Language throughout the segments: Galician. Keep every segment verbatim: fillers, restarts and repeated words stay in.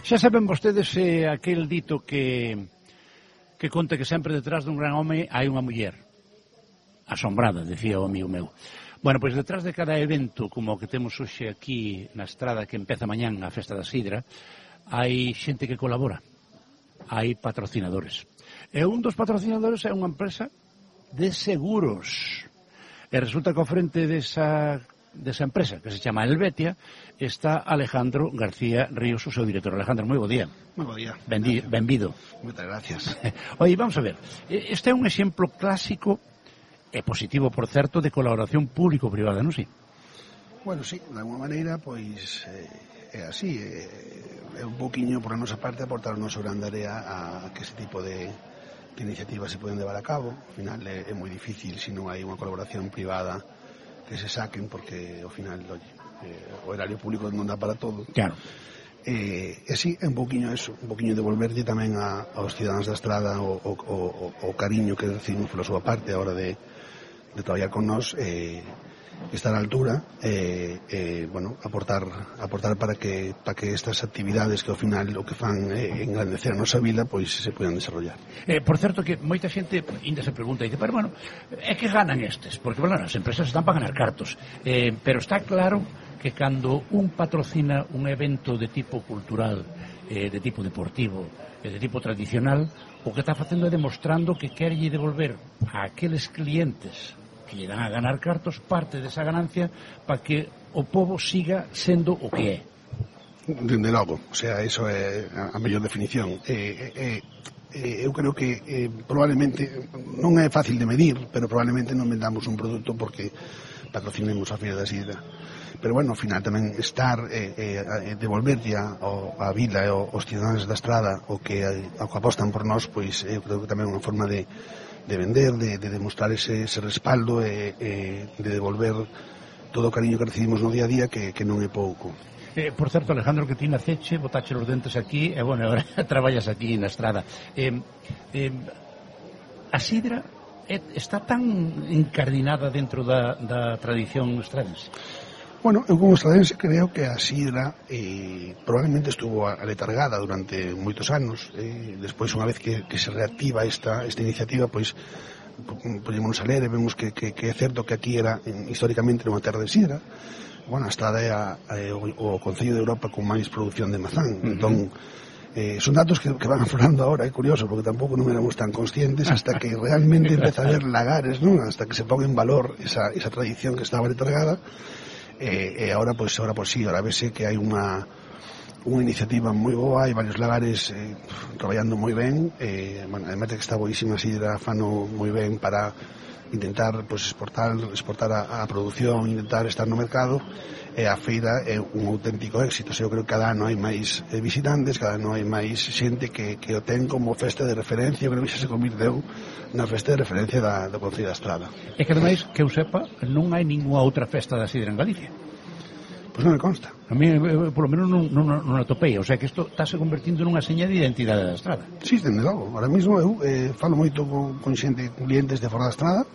Xa saben vostedes eh, aquel dito que que conta que sempre detrás dun gran home hai unha muller asombrada, decía o amigo meu. Bueno, pois detrás de cada evento como o que temos hoxe aquí na estrada que empeza mañán a Festa da Sidra, hai xente que colabora, hai patrocinadores. E un dos patrocinadores é unha empresa de seguros. E resulta que ao frente desa desa empresa, que se chama Helvetia, está Alejandro García Ríos, o seu director. Alejandro, moi bo día. Moi bo día. Bendi, benvido. Moitas gracias. Oye, vamos a ver, este é un exemplo clásico e positivo, por certo, de colaboración público-privada, non si? Bueno, sí, de alguma maneira, pois, eh, é así, é, é un poquinho, por a nosa parte, aportar o noso grande área a que ese tipo de, de iniciativas se poden levar a cabo. Ao final é, é moi difícil se non hai unha colaboración privada que se saquen, porque ao final, oye, eh, o erario público non dá para todo. Claro. E, e sí, é un poquinho eso, un poquinho devolverlle tamén a, aos cidadáns da estrada o, o, o, o cariño que recibimos pola súa parte a hora de, de traballar con nós, eh, estar á altura, e, eh, eh, bueno, aportar aportar para que para que estas actividades que ao final o que fan é eh, engrandecer a nosa vila, pois se poidan desarrollar. Eh, por certo que moita xente ainda se pregunta e dice, pero bueno, é que ganan estes? Porque, bueno, as empresas están para ganar cartos, eh, pero está claro que cando un patrocina un evento de tipo cultural, eh, de tipo deportivo, eh, de tipo tradicional, o que está facendo é demostrando que querlle devolver a aqueles clientes que lle dan a ganar cartos parte desa ganancia para que o pobo siga sendo o que é. Dende logo, o sea, iso é a mellor definición. Eh, eh, eh, eu creo que eh, probablemente non é fácil de medir, pero probablemente non vendamos un produto porque patrocinemos a Feira da Sidra. Pero bueno, ao final tamén estar eh, eh, devolverlle a, a vila e aos cidadáns da estrada o que, o que apostan por nós, pois eu creo que tamén é unha forma de de vender, de, de demostrar ese, ese respaldo e, e de devolver todo o cariño que recibimos no día a día, que, que non é pouco. Eh, por certo, Alejandro, que ti naceche, botache os dentes aquí, e, bueno, agora traballas aquí na estrada. Eh, eh, a sidra eh, está tan encardinada dentro da, da tradición estradense? Bueno, eu como estradense creo que a sidra eh, probablemente estuvo aletargada durante moitos anos. Eh, despois, unha vez que, que se reactiva esta, esta iniciativa, pois podemos a ler e vemos que, que, que é certo que aquí era históricamente unha terra de sidra. Bueno, a estrada é, a, é o, o Concello de Europa con máis produción de mazán. Uh-huh. Entón, eh, son datos que, que van aflorando ahora, é curioso, porque tampouco non éramos tan conscientes hasta que realmente empeza a haber lagares, ¿no? Hasta que se pon en valor esa, esa tradición que estaba aletargada. E, e agora, pois, agora, pois, sí, agora vese que hai unha unha iniciativa moi boa, hai varios lagares eh, traballando moi ben, eh, bueno, además de que está boísima sidra, fano moi ben para intentar, pois, exportar exportar a, a produción, intentar estar no mercado, e a feira é un auténtico éxito. O sea, eu creo que cada ano hai máis eh, visitantes, cada ano hai máis xente que, que o ten como festa de referencia. Eu creo que xa se convirteu na festa de referencia da, da Concello da Estrada. E que ademais, que eu sepa, non hai ninguna outra festa da sidra en Galicia. Pois non me consta. A mí, por lo menos, non, non, non atopei. O sea, que isto está se convertindo nunha seña de identidade da Estrada. Sí, dende logo. Ahora mesmo eu eh, falo moito con, con xente, con clientes de fora da Estrada.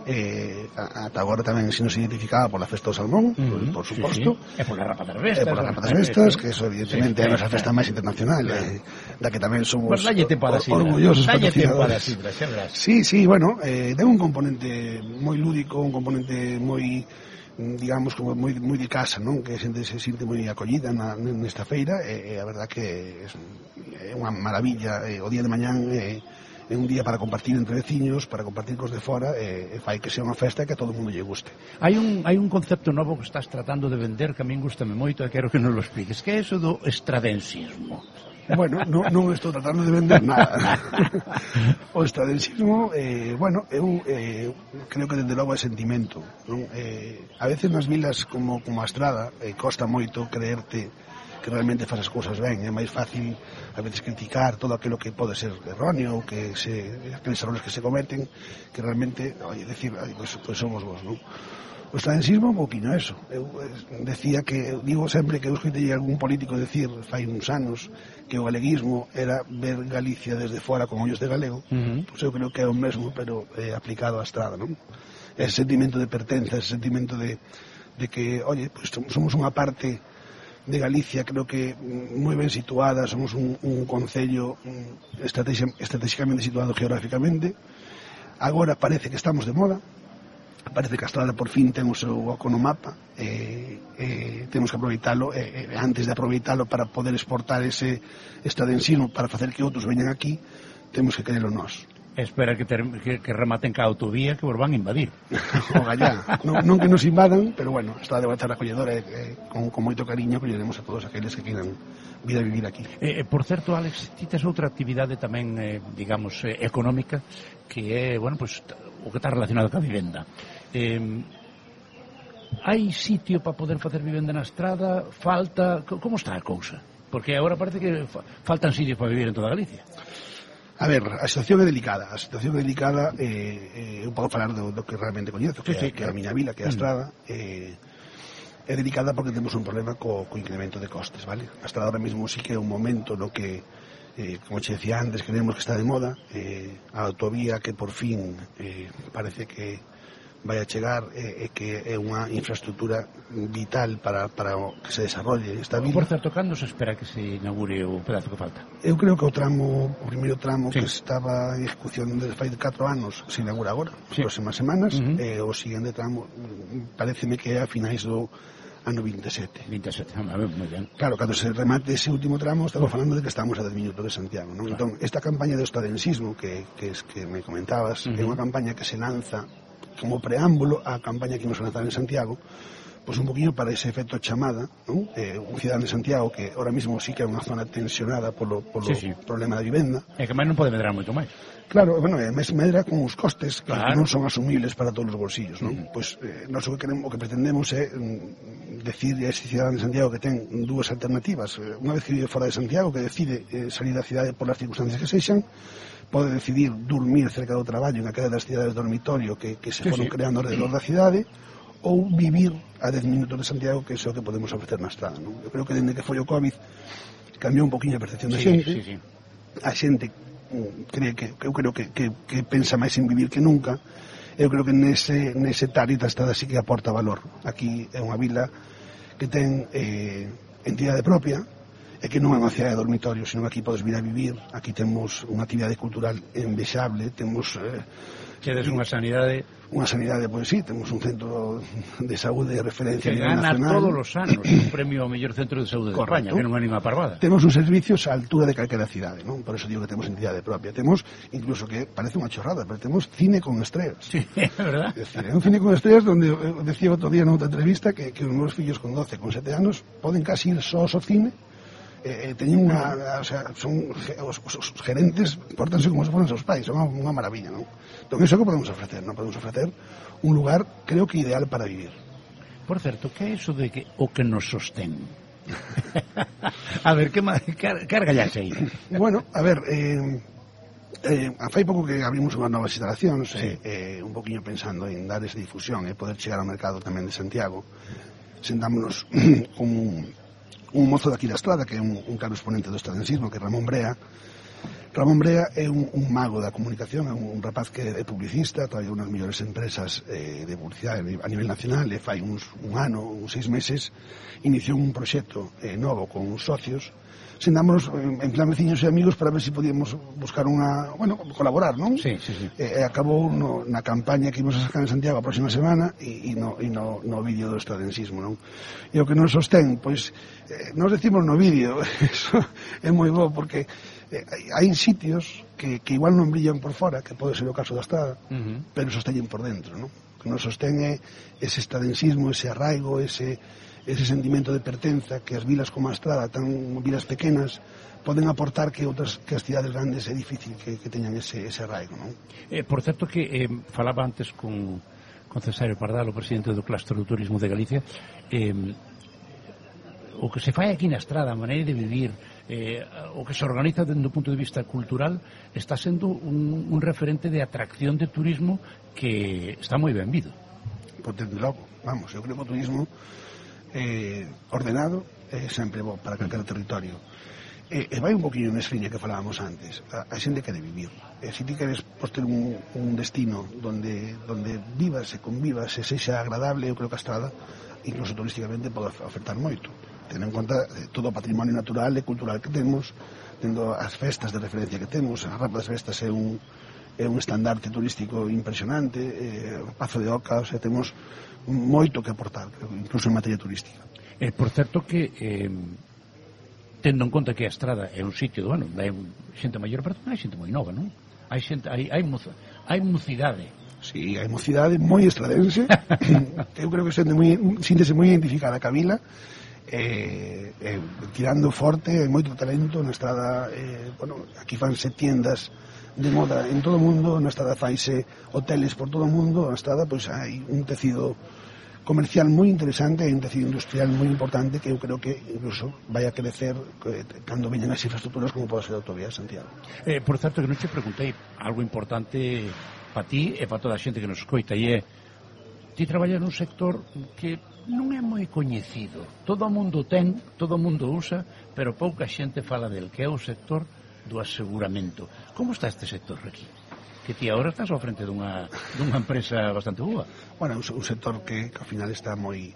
Eh, ata agora tamén se nos identificaba pola festa do salmón, uh-huh, por, por suposto, sí, sí. E pola rapa das bestas, e pola rapa das bestas, que eso evidentemente sí, é a nosa festa máis internacional, eh, da que tamén somos pues or, orgullosos patrocinadores. Sí, sí, bueno, eh, ten un componente moi lúdico, un componente moi, digamos, como moi, moi de casa, non? Que a xente se sinte moi acollida na, nesta feira, e, e a verdad que é unha maravilla. Eh, o día de mañán eh, é un día para compartir entre veciños, para compartir cos de fora, e, e fai que sea unha festa que a todo mundo lle guste. Hai un, hai un concepto novo que estás tratando de vender que a min gustame moito e quero que nos lo expliques, que é eso do estradensismo. Bueno, non, non estou tratando de vender nada. O estradensismo, eh, bueno, eu eh, creo que dende logo é sentimento, non? Eh, a veces nas vilas como, como a Estrada eh, costa moito creerte que realmente faz as cousas ben. É máis fácil a veces criticar todo aquilo que pode ser erróneo, que se, aqueles errores que se cometen, que realmente, oye, decir, ay, pues, pues somos vos, non? O estradensismo un pouquinho eso. Eu eh, decía que, eu digo sempre que eu escoitei algún político decir fai uns anos que o galeguismo era ver Galicia desde fora con ollos de galego. Uh-huh. Pois eu creo que é o mesmo, pero eh, aplicado á Estrada, non? Ese sentimento de pertenza, ese sentimento de, de que, oye, pues somos unha parte de Galicia, creo que moi ben situada, somos un, un concello estratégicamente situado geográficamente. Agora parece que estamos de moda, parece que a Estrada por fin ten o seu oco no mapa, e, e temos que aproveitalo, e, e antes de aproveitalo para poder exportar ese estradensismo para facer que outros veñan aquí, temos que querelo nós. Espera que, ter, que, que rematen ca autovía que vos van a invadir. O gallá, non, non que nos invadan, pero bueno, está de estar acolledora e, e con, con moito cariño acolleremos a todos aqueles que queiran vir a vivir aquí. Eh, por certo, Alex, ti tes outra actividade tamén, eh, digamos, eh, económica, que é, bueno, pues, o que está relacionado ca vivenda. Eh, hai sitio para poder facer vivenda na estrada? Falta? Como está a cousa? Porque agora parece que fa, faltan sitios para vivir en toda Galicia. A ver, a situación é delicada, a situación é delicada, eh, eh, eu podo falar do, do que realmente coñezo, que, sí, sí, que é a miña vila, que é a Estrada, eh, é delicada porque temos un problema co, co incremento de costes, vale? A Estrada ahora mesmo sí que é un momento no que, eh, como che decía antes, creemos que está de moda, eh, a autovía que por fin eh, parece que vai a chegar e eh, que é unha infraestructura vital para, para que se desarrolle esta vila. Por certo, cando se espera que se inaugure o pedazo que falta? Eu creo que o tramo, o primeiro tramo sí. que estaba en ejecución desde fai catro anos se inaugura agora, sí. As próximas semanas, uh-huh. E o seguinte tramo pareceme que é a finais do ano vinte e sete. vinte e sete, a ver, moi ben. Claro, cando se remate ese último tramo estamos falando de que estamos a dez minutos de Santiago, non? Claro. Entón, esta campaña de estadensismo que, que, es, que me comentabas, uh-huh. É unha campaña que se lanza como preámbulo á campaña que imos a lanzar en Santiago, pois un poquinho para ese efecto chamada, non? Eh, un cidadán de Santiago que ahora mismo sí que é unha zona tensionada polo, polo sí, sí. problema da vivenda. É que máis non pode medrar moito máis. Claro, bueno, é mes medra con os costes que claro. Non son asumibles para todos os bolsillos, non? Mm. Pois eh, nós o que queremos, o que pretendemos é mm, decir a ese cidadán de Santiago que ten dúas alternativas. Eh, unha vez que vive fora de Santiago, que decide eh, salir da cidade por as circunstancias que sexan, pode decidir dormir cerca do traballo en aquelas das cidades de dormitorio que, que se sí, foron sí. creando alrededor da cidade, ou vivir a dez minutos de Santiago, que é o que podemos ofrecer na estrada, non? Eu creo que dende que foi o COVID cambiou un poquinho a percepción da sí, xente, sí, sí. A xente cree que, eu creo que, que, que pensa máis en vivir que nunca. Eu creo que nese, nese tarita a estrada sí que aporta valor. Aquí é unha vila que ten eh, entidade propia, e que non é unha cidade de dormitorio, sino que aquí podes vir a vivir, aquí temos unha actividade cultural envexable, temos... Eh, Quedes unha sanidade... Unha sanidade, pois sí, temos un centro de saúde de referencia que gana nacional. Todos os anos un premio ao mellor centro de saúde de España, que non é ninguna parvada. Temos uns servicios á altura de calquera cidade, non? Por eso digo que temos entidade propia. Temos, incluso que parece unha chorrada, pero temos cine con estreas. Sí, é verdad. É decir, é un cine con estreas donde, eu decía outro día noutra entrevista que, que os meus fillos con doce, con sete anos poden casi ir só ao cine. Eh, teñen unha, o sea, son os, os, os gerentes portanse como se foran seus pais, son unha, unha maravilla, non? Entón, iso que podemos ofrecer, non? Podemos ofrecer un lugar, creo que ideal para vivir. Por certo, que é iso de que o que nos sostén? A ver, que car, cargallaxe aí? Bueno, a ver, eh, eh, fai pouco que abrimos unhas novas instalacións, sí. eh, un poquinho pensando en dar esa difusión e eh, poder chegar ao mercado tamén de Santiago. Sentámonos con un un mozo daqui da Estrada, que é un, un claro exponente do estradensismo, que é Ramón Brea. Ramón Brea é un, un mago da comunicación, é un, un rapaz que é publicista, traballa unhas mellores empresas eh, de publicidade a nivel nacional, e fai uns, un ano, uns seis meses, iniciou un proxecto eh, novo con uns socios. Sentámonos en plan veciños e amigos para ver se si podíamos buscar unha, bueno, colaborar, non? Sí, sí, sí. E eh, acabou no, na campaña que imos a sacar en Santiago a próxima semana e, e, no, e no, no vídeo do estradensismo, non? E o que nos sostén, pois, eh, nos decimos no vídeo, eso é moi bo, porque eh, hai sitios que, que igual non brillan por fora, que pode ser o caso da Estrada, uh-huh. pero sosteñen por dentro, non? O que nos sostén é ese estradensismo, ese arraigo, ese... ese sentimento de pertenza que as vilas como a Estrada, tan vilas pequenas, poden aportar que outras que as cidades grandes é difícil que, que teñan ese, ese arraigo, non? Eh, por certo que eh, falaba antes con, con Cesario Pardal, o presidente do Claustro do Turismo de Galicia, eh, o que se fai aquí na Estrada, a maneira de vivir, eh, o que se organiza dentro do punto de vista cultural, está sendo un, un referente de atracción de turismo que está moi ben vido. Pois desde logo, vamos, eu creo que o turismo Eh, ordenado é eh, sempre bo para calquer territorio e eh, eh, vai un poquinho nesa liña que falábamos antes. A, a xente quere vivir e eh, se ti queres pois, ter un, un destino donde, donde vivas e convivas e sexa agradable, eu creo que a Estrada incluso turísticamente pode ofertar moito. tendo en conta todo o patrimonio natural e cultural que temos, tendo as festas de referencia que temos. A Rapa das Festas é un, é un estandarte turístico impresionante, eh, o Pazo de Oca, o sea, temos moito que aportar, incluso en materia turística. Eh, por certo que, eh, tendo en conta que a Estrada é un sitio, bueno, hai xente maior, pero hai xente moi nova, non? Hai xente, hai, hai, moza, hai mocidade. Sí, hai mocidade moi estradense. Eu creo que xente moi, síntese moi identificada a Vila, eh, eh, tirando forte, hai moito talento na Estrada. Eh, bueno, aquí fanse tiendas de moda en todo o mundo, na Estrada faise hoteles por todo o mundo, na Estrada pois hai un tecido comercial moi interesante e un tecido industrial moi importante que eu creo que incluso vai a crecer cando veñan as infraestructuras como pode ser a autovía de Santiago. Eh, por certo, que non te preguntei algo importante para ti e para toda a xente que nos escoita, e é, ti traballas nun sector que non é moi coñecido, todo o mundo ten, todo o mundo usa, pero pouca xente fala del, que é o sector do aseguramento. Como está este sector aquí? Que ti agora estás ao frente dunha, dunha empresa bastante boa. Bueno, un sector que, que ao final está moi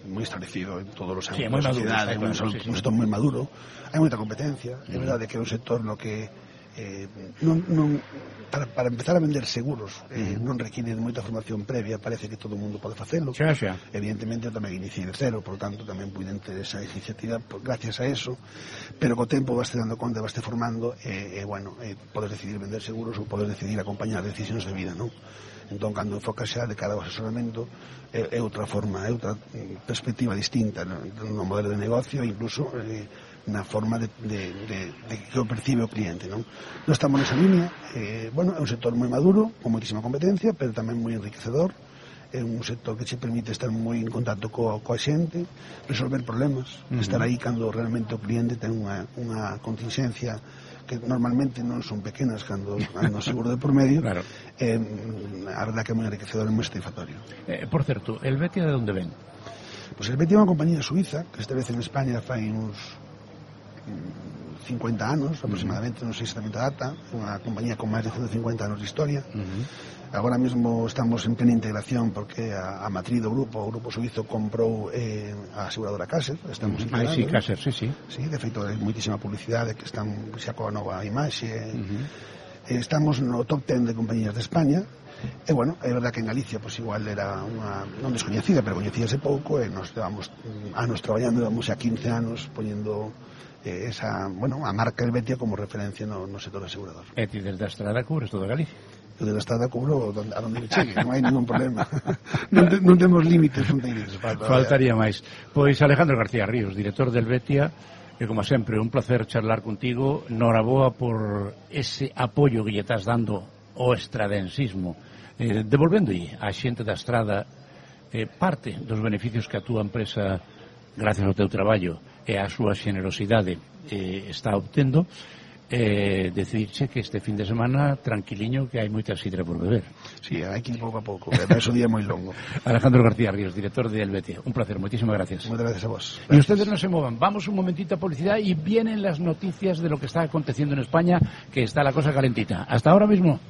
moi establecido en todos os ámbitos da sociedade, claro, un, sí, sí. un sector moi maduro, hai moita competencia, é verdade que é un sector no que eh, non, non, para, para empezar a vender seguros eh, non requiere moita formación previa, parece que todo o mundo pode facelo, xa, xa. Evidentemente eu tamén iniciei de cero, por lo tanto tamén pude ter esa iniciativa por, gracias a eso, pero co tempo vaste dando conta, vaste formando e, eh, eh, bueno, eh, podes decidir vender seguros ou podes decidir acompañar decisións de vida, non? Entón, cando enfocas xa de cara ao asesoramento, é, é outra forma, é outra perspectiva distinta no, no modelo de negocio, incluso eh, na forma de, de, de, de que o percibe o cliente, non? Non estamos nesa línea, eh, bueno, é un sector moi maduro, con moitísima competencia, pero tamén moi enriquecedor, é un sector que che permite estar moi en contacto co, coa xente, resolver problemas, uh-huh. estar aí cando realmente o cliente ten unha, unha contingencia que normalmente non son pequenas cando hai un seguro de por medio, claro. eh, a verdad que é moi enriquecedor e moi satisfactorio. Eh, por certo, el Betia de onde ven? Pois el Betia é unha compañía suiza que estabelece en España fai uns cincuenta anos aproximadamente, non sei exactamente a data, unha compañía con máis de ciento cincuenta anos de historia. Uh-huh. Agora mesmo estamos en plena integración porque a, a matriz do grupo, o grupo suizo comprou eh, a aseguradora Caser, estamos uh-huh. integrando. Ah, sí, Caser, sí, sí. Sí, de feito, hai moitísima publicidade que están xa coa nova imaxe. Uh-huh. eh, estamos no top ten de compañías de España. E, bueno, é verdad que en Galicia pois igual era unha non descoñecida, pero coñecíase pouco e nos levamos anos traballando, levamos xa quince anos poñendo eh, esa, bueno, a marca Helvetia como referencia no, no sector asegurador. E ti desde a Estrada cubres toda Galicia? Eu desde a Estrada cubro donde, a donde me chegue, non hai ningún problema. non, te, non temos límites fronteiros. Faltaría máis. Pois Alejandro García Ríos, director del Helvetia, e como sempre, un placer charlar contigo. Noraboa por ese apoio que lle estás dando ao estradensismo, eh, devolvéndolle á xente da Estrada eh, parte dos beneficios que a túa empresa, gracias ao teu traballo e a súa xenerosidade, eh, está obtendo. Eh, decidirche que este fin de semana tranquiliño, que hai moita sidra por beber. Sí, hai que ir pouco a pouco, que é un día moi longo. Alejandro García Ríos, director de Helvetia, un placer, moitísimas gracias. Muchas gracias a vos. Y ustedes no se muevan, vamos un momentito a publicidad y vienen las noticias de lo que está aconteciendo en España, que está la cosa calentita. Hasta ahora mismo.